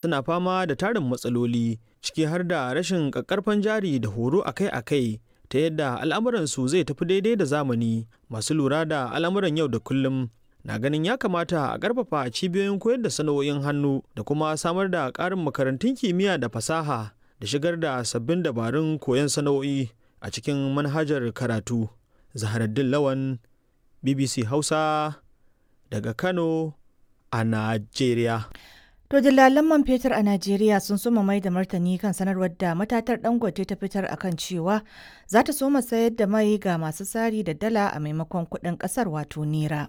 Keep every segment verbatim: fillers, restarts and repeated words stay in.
Suna fama da tarin matsaloli, ciki har da rashin ƙaƙƙarfan jari da horo akai-akai ta yadda al'amuransu zai tafi daidai da zamani. Masu lura da al'amuran yau da kullum na ganin ya kamata a ƙarfafa cibiyoyin koyar da sana'o'in hannu da kuma samar da ƙarin makarantun kimiyya da fasaha da shigar da sabbin dabarun koyon sana'o'i a cikin manhajar karatu. Zaharaddin Lawan, B B C Hausa, daga Kano a Najeriya. To, dillalan man fetur a Najeriya sun soma mai da martani kan sanarwar da matatar Dangote ta fitar akan cewa za ta soma sayar da mai ga masu sari da dala a maimakon kuɗin ƙasar, wato naira.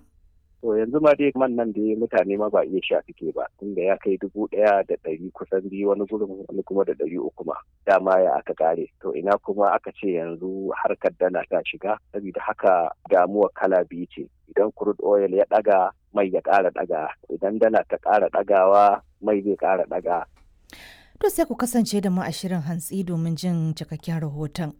To, yanzu ma dai man nan dai mutane ma ba iya sha suke ba, tunda ya kai dubu ɗaya da ɗari kusan biyu wani gurin, wani kuma da ɗari uku ma. Dama ya aka kare. To, ina kuma aka ce yanzu harkar dala ta shiga, saboda haka damuwa kala biyu ce. Idan crude oil ya ɗaga, mai ya ƙara ɗaga, idan dala ta ƙara ɗagawa, mai zai ƙara ɗaga. To, sai ku kasance da mu a shirin hantsi domin jin cikakken rahoton.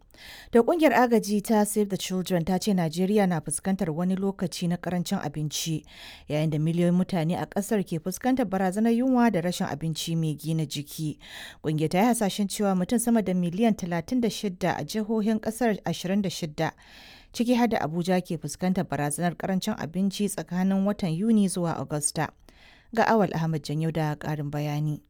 Da kungiyar agaji ta Save the Children ta ce Najeriya na fuskantar wani lokaci na karancin abinci, yayin da miliyoyin mutane a kasar ke fuskantar barazanar yunwa da rashin abinci mai gina jiki. Kungiyar ta yi hasashen cewa mutum sama da miliyan talatin da shida a jihohin kasar ashirin da shida, ciki har da Abuja, ke fuskantar barazanar karancin abinci tsakanin watan Yuni zuwa Agusta. Ga Awal Ahmad Janyo da ƙarin bayani.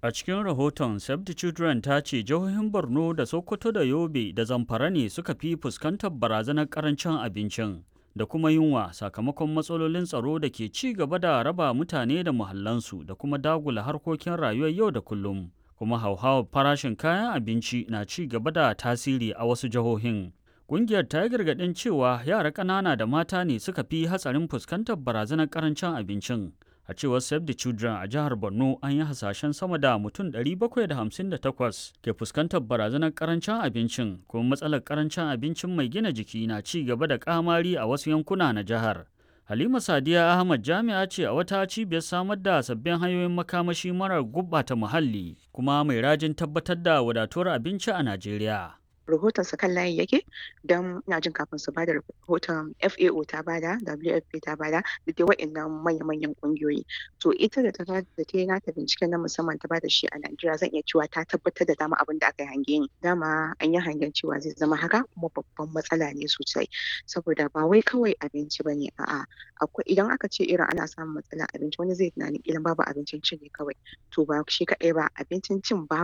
A cikin rahoton, Save the Children ta ce jihohin Borno da Sokoto da Yobe da Zamfara ne suka fi fuskantar barazanar karancin abincin da kuma yunwa sakamakon matsalolin tsaro da ke ci gaba da raba mutane da muhallansu da kuma dagula harkokin rayuwar yau da kullum. Kuma hauhawar farashin kayan abinci na ci gaba da tasiri a wasu jihohin. Ƙungiyar ta yi gargaɗin cewa yara ƙanana da mata ne suka fi hatsarin fuskantar barazanar karancin abincin. A cewar Save the Children, a jihar Borno an yi hasashen sama da mutum ɗari bakwai da hamsin da takwas ke fuskantar barazanar karancin abincin, kuma matsalar karancin abincin mai gina jiki na ci gaba da kamari a wasu yankuna na jihar. Halima Sadiya Ahmad jami'a ce a wata cibiyar samar da sabbin hanyoyin makamashi marar gurɓata muhalli, kuma mai rajin tabbatar da wadatuwar abinci a Najeriya. Rahoton sa kan layi yake, don ina jin kafin su bada rahoton, F A O ta bada, W F P ta bada, da dai wa'annan manya-manyan kungiyoyi. To, ita da ta da ta yi nata binciken na musamman ta bada shi a Najeriya, zan iya cewa ta tabbatar da dama abin da aka yi hange ne. Dama an yi hangen cewa zai zama haka, kuma babban matsala ne sosai, saboda ba wai kawai abinci ba ne, a'a. Akwai, idan aka ce irin ana samun matsalar abinci, wani zai tunanin idan babu abincin cin ne kawai. To, ba shi kaɗai ba, abincin cin babu.